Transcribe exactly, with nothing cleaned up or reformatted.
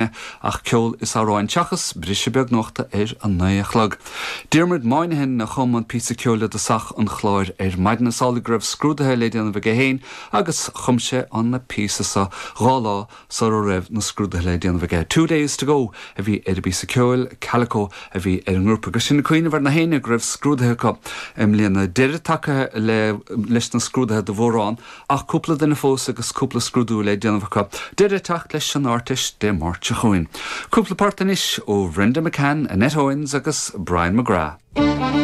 ach ceol is amhráin seachas briseadh beag nuachta ar a naoi a chlog. Diarmuid Moynihan a chum an píosa ceoil i dtosach an chláir ar maidin is amhlaidh go raibh scrúduithe le déanamh aige féin agus chum sé an píosa seo dhá lá sara raibh na scrúduithe le déanamh aige. Two days to go a bhí ar an bpíosa ceoil Calico a bhí ar an ngrúpa agus sin cuimhneamh ar na héinne go raibh scrúduithe acu i mbliana deireadh tagtha le leis na scrúduithe do mhórán ach cúpla duine fós agus cúpla scrúdú le déanamh acu. Deireadh teacht leis an Ardteist Dé Máirt seo chugainn. Cúpla port anois ó Bhrenda McCann, Annette Owens agus Brian McGrath.